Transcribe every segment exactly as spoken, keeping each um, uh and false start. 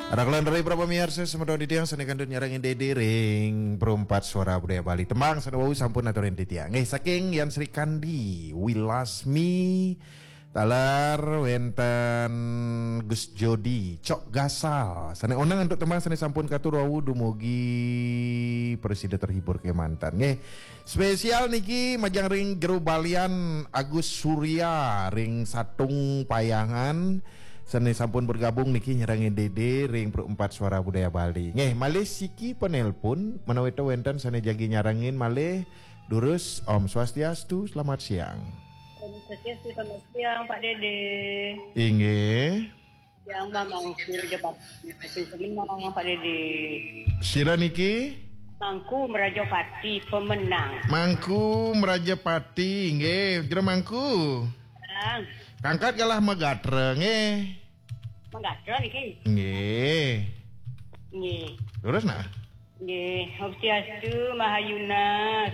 Raglan rai para pamiarsa, semeton titiang sane kantun nyarengin Dede ring Perumpat Suara Budaya Bali. Tembang sane wau sampun aturin titiang. Nggih, saking Yan Srikandi, Wilasmi, taler wenten Gus Jodi, Cok Gasal. Sane oneng antuk tembang sane sampun katur wau, dumugi prasida terhibur kemanten. Nggih. Spesial niki majeng ring Jero Balian Agus Surya ring Satung Payangan. Sane sampun bergabung niki nyarengin Dede ring Perumpat Suara Budaya Bali. Nggih, malih siki penelpon, menawi to wenten sane jagi nyarengin malih, durus. Om Swastiastu, selamat siang. Om Swastiastu, selamat siang, Pak Dede. Inggih. Yang Mamang Sir Jepat. Menang, Pak Dede. Sira niki? Mangku Merajapati pemenang. Mangku Merajapati, nggih, Jero Mangku. Bang. Kangkat galah magatra, nggih. Magatra niki. Nggih. Nggih. Terus nah. Nggih, Swastiastu, Mahayuna,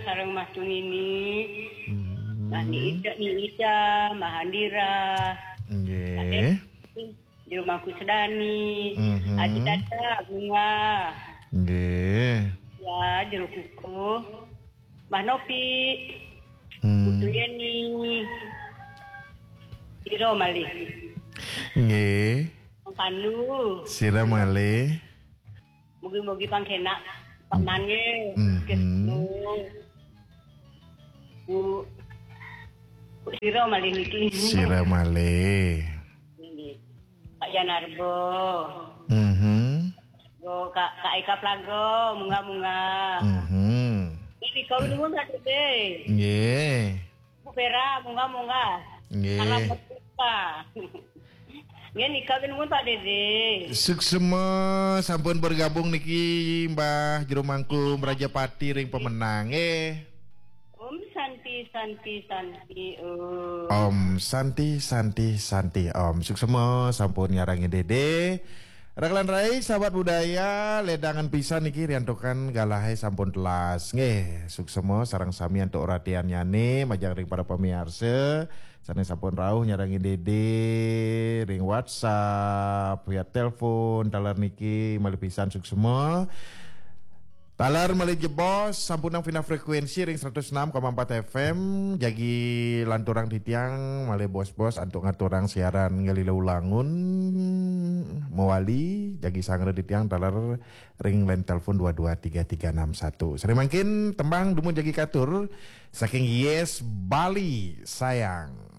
sareng Mas Tunini. Hmm. Mas Ni Ida, Ni Ida, Mahandira. Nggih. Jero Mangku Sedani. Mhm. Aji Tata, Bunga. Nggih. Ya, Jero Kukuh. Mbah Nopi. Hmm. Putu Yeni. Sira malih. Nggih. Pandu. Sira malih. Mugi-mugi pangkenak Pak Mane. Mhm. Bu. Bu sira malih niki. Sira malih. Nggih. Pak Janarbo. Mhm. Go, Kak, Kak Eka Plago, munggah-munggah. Mhm. Niki kau nuwun, Pak Dede. Nggih. Bu Vera, munggah-munggah. Nggih. Salam berjumpa. Nggih, nika nuwun, Pak Dede. Suksema sampun bergabung niki Mbah Jero Mangku Merajapati ring pemenang. Nggih. Om Santi, Santi, Santi, Om. Om Santi, Santi, Santi, Om. Suksema sampun nyarengin Dede. Raglan rai, sahabat budaya, ledangan pisan niki riantukan galahe sampun telas. Nggih, suksema sareng sami antuk ratiannyane majeng ring para pamiarsa sane sampun rauh nyarengin Dede ring WhatsApp, via telepon, taler niki malih pisan suksema. Taler malih jebos, sampunang pindah frekuensi ring seratus enam koma empat F M, jagi lanturang titiang malih bos-bos antuk ngaturang siaran ngalih ulangun mawali, jagi sangra titiang taler ring line telepon dua dua tiga tiga enam satu. Sane mangkin tembang dumun jagi katur saking Yes Bali Sayang.